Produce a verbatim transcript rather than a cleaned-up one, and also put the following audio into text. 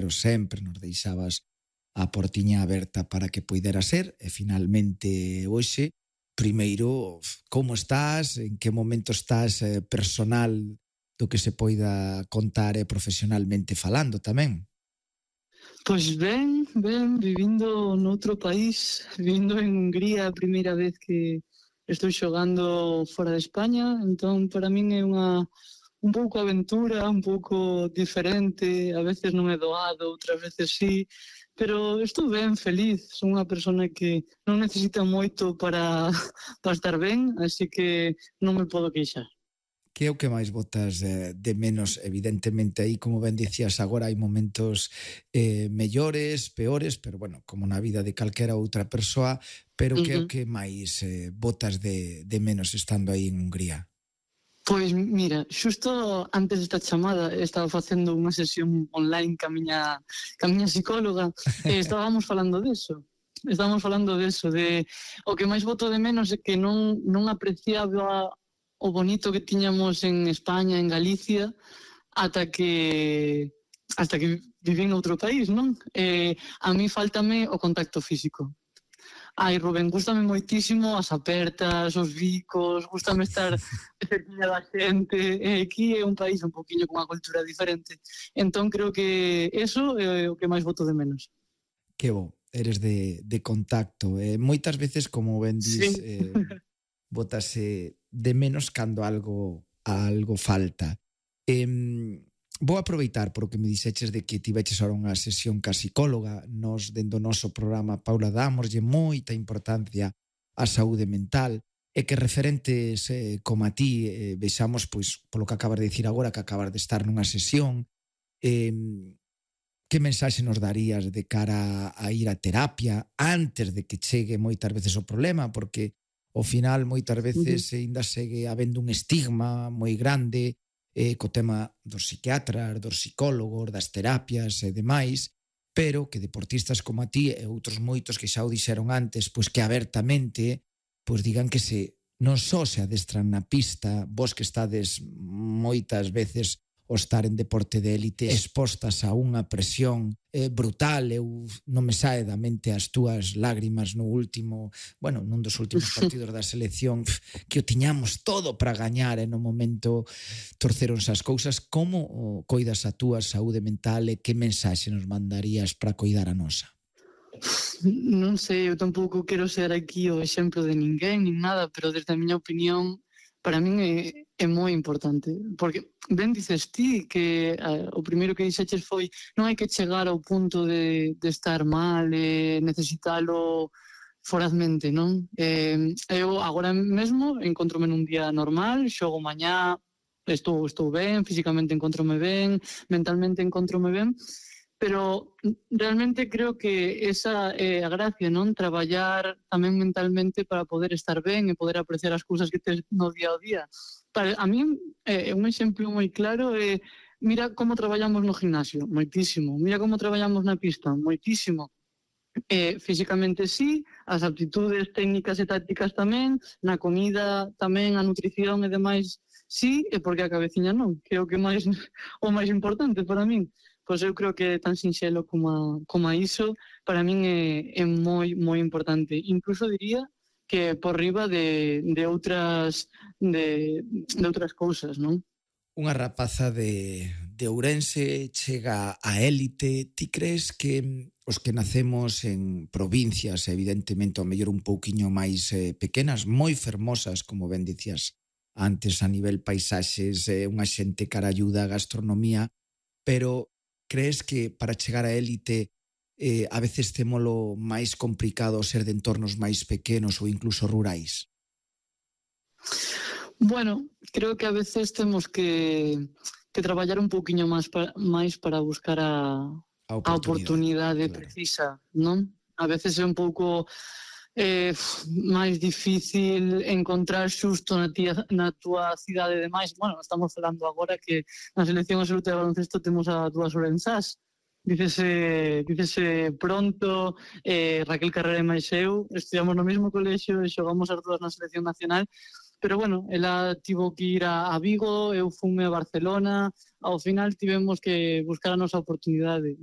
pero sempre nos deixabas a portiña aberta para que poidera ser, e finalmente hoxe, primeiro, como estás, en que momento estás eh, personal do que se poida contar e profesionalmente falando tamén? Pois ben, ben, vivindo noutro país, vivindo en Hungría, a primeira vez que estou xogando fora de España, entón para min é unha un pouco aventura, un pouco diferente, a veces non é doado, outras veces sí, pero estou ben, feliz, son unha persona que non necesita moito para, para estar ben, así que non me podo queixar. Que é o que máis botas eh, de menos? Evidentemente aí, como ben dicías agora, hai momentos eh, mellores, peores, pero bueno, como na vida de calquera outra persoa, pero uh-huh. que é o que máis eh, botas de, de menos estando aí en Hungría? Pois mira, xusto antes desta chamada estaba facendo unha sesión online ca miña, ca miña psicóloga e estábamos falando deso. Estábamos falando deso, de o que máis boto de menos é que non, non apreciaba o bonito que tiñamos en España, en Galicia, ata que hasta que viví en outro país, non? Eh, a mí faltame o contacto físico. Ai, Rubén, gústame moitísimo as apertas, os bicos, gústame estar cerquinha da xente, e aquí é un país un poquinho con unha cultura diferente. Entón creo que eso é o que máis boto de menos. Que bo, eres de, de contacto. Eh, moitas veces, como ben dis, sí. eh, botase de menos cando algo algo falta. Eh, vou aproveitar por o que me dixeches de que tiveches ahora unha sesión ca psicóloga. Nos, dentro do noso programa, Paula, dámoslle moita importancia á saúde mental e que referentes eh, como a ti eh, vexamos, pois, polo que acabas de dicir agora, que acabas de estar nunha sesión, eh, que mensaxe nos darías de cara a ir a terapia antes de que chegue moitas veces o problema, porque ao final moitas veces ainda segue habendo un estigma moi grande eh, co tema dos psiquiatras, dos psicólogos, das terapias e demais, pero que deportistas como a ti e outros moitos que xa o dixeron antes, pois que abertamente pois digan que se non só se adestran na pista, vos que estades moitas veces o estar en deporte de élite expostas a unha presión eh, brutal. Eu non me sae da mente as túas lágrimas no último, bueno, nun dos últimos partidos da selección, que o tiñamos todo para gañar e no momento torceronse as cousas. Como coidas a túa saúde mental e que mensaxe nos mandarías para coidar a nosa? Non sei, eu tampouco quero ser aquí o exemplo de ninguén, nin nada, pero desde a miña opinión, para min é, é moi importante, porque ben dices ti que uh, o primeiro que dixeches foi non hai que chegar ao punto de, de estar mal e necesitalo forazmente, non? Eh, eu agora mesmo encontrome nun día normal, xogo mañá, estou, estou ben, físicamente encontrome ben, mentalmente encontrome ben, pero realmente creo que esa é a gracia, non? Traballar tamén mentalmente para poder estar ben e poder apreciar as cousas que tes no día ao día. Para a mí, é un exemplo moi claro é, mira como traballamos no gimnasio, moitísimo. Mira como traballamos na pista, moitísimo. Eh, físicamente sí, as aptitudes técnicas e tácticas tamén, na comida tamén, a nutrición e demais sí, e porque a cabeciña non, que é o que máis o máis importante para min. Pois eu creo que tan sinxelo como a, como a iso, para min é, é moi, moi importante. Incluso diría que por riba de, de outras de, de outras cousas, non? Unha rapaza de, de Ourense chega a élite. Ti crees que os que nacemos en provincias, evidentemente, ao mellor un pouquiño máis eh, pequenas, moi fermosas, como ben dicías antes, a nivel paisaxes, eh, unha xente caralluda, gastronomía, pero crees que para chegar a élite eh, a veces témolo máis complicado ser de entornos máis pequenos ou incluso rurais? Bueno, creo que a veces temos que, que traballar un pouquiño máis para, máis para buscar a, a oportunidade, a oportunidade claro. Precisa, non? A veces é un pouco eh, máis difícil encontrar xusto na, tía, na túa cidade de máis. Bueno, estamos falando agora que na selección absoluta de baloncesto temos a dúas orensás. Dícese, dícese pronto, eh, Raquel Carrera e máis eu, estudiamos no mesmo colexio e xogamos as dúas na selección nacional, pero bueno, ela tivo que ir a, a Vigo, eu fume a Barcelona, ao final tivemos que buscar a nosa oportunidade.